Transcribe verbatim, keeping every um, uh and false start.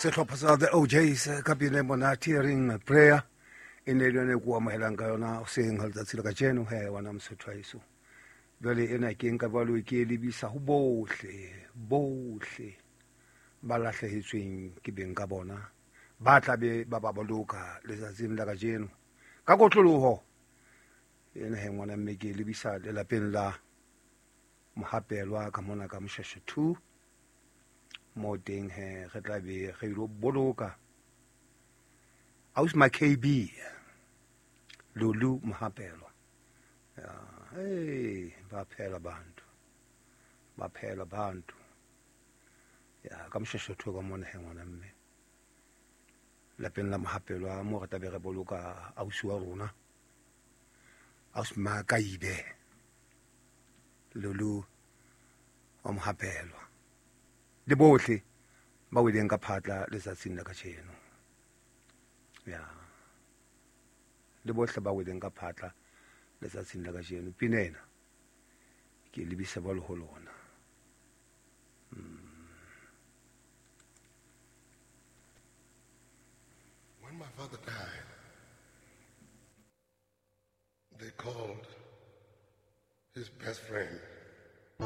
Sehlopha sa The O'Jays ka pina e monate e reng Prayer e ne le yone e ko amohelang ka yona hoseng ha letsatsi la kajeno he wana Mosotho wa heso. Jwale ena ke nka jwalo ke e lebisa ho bohle bohle ba lahlehetsweng ke beng ka bona ba tla be ba ba boloka letsatsing la kajeno ka kotloloho. Ena he ngwana mme ke e lebisa lelapeng la Mohapelwa ka mona ka Moshasha two mo teng he re tla be re ilo boloka ausi ma K B Lulu Mohapelwa. Ya, hey, ba phela bantu, ba phela bantu. Ya, ka Moshasha two ka mona he ngwana mme lapeng la Mohapelwa mo re tla be re boloka ausi wa rona ausi ma Kaibe Lulu wa Mohapelwa le bohle ba weleng ka phatla letsatsing la kajeno. Ya, le bohle ba weleng ka phatla letsatsing la kajeno. Pina ena ke lebisa ba ho lona. When my father died, they called his best friend